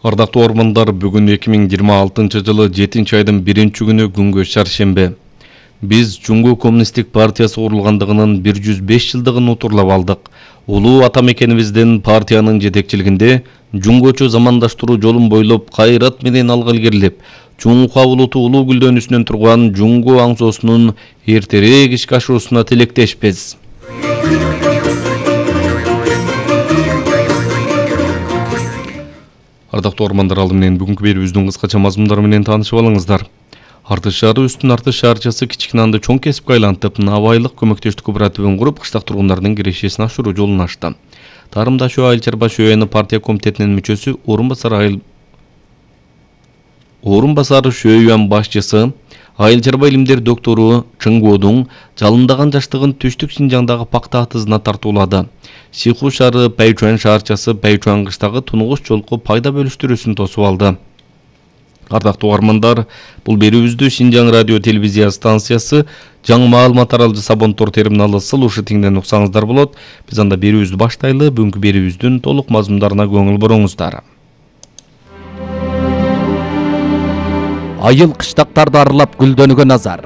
Ардактуу ормандар, бүгүн 2026-жылы 7-айдын 1-күнү күнгө шаршембе. Биз Жуңгу Коммунисттик партиясы курулгандыгынын 105 жылдыгын утурлап алдык. Улуу ата мекенибиздин партиянын жетекчилигинде жуңгочу замандаштыруу жолун бойлоп кайрат менен алга илгерилип, Чуңука улуту улуу гүлдөнүүсүнөн турган Жуңгу аңсоосунун эртерээк ишке ашуусуна тилектешпиз. Ардактуу ормандар, алды менен бүгүнкү берүүбүздүн кыскача мазмундары менен таанышып алыңыздар. Артыш шаары үстүн Артыш шаарчасы Кичкинанды чоң кесипке айлантып, Абайлык көмөктөштүк кооперативин куруп, кыштак тургундардын кирешесин ашыруу жолун ачты. Тарымдашуу Айыл чарба шөөнү партия комитетинин мүчөсү, орун басары шөйөн башчысы, Айыл чарба илимдер доктору Чыңгоодун жалындаган жаштыгын Түштүк Шинжаңдагы пакта атызына тартуулады. Сиху шаары Пайчуан шаарчасы Пайчуан кыштагы тунугуш жолку пайда бөлүштүрүүсүн тосуп алды. Ардактуу армандар, бул берүүбүздү Шинжаң радио телевизия станциясы жаңы маалымат таралжы Сабонтор терминалы Сылушы тиңден уксаңыздар болот. Биз анда берүүбүздү баштайлы, бүгүнкү берүүбүздүн толук мазмундарына көңүл буруңуздар. Айыл кыштактарды аралап гүлдөнүүгө назар.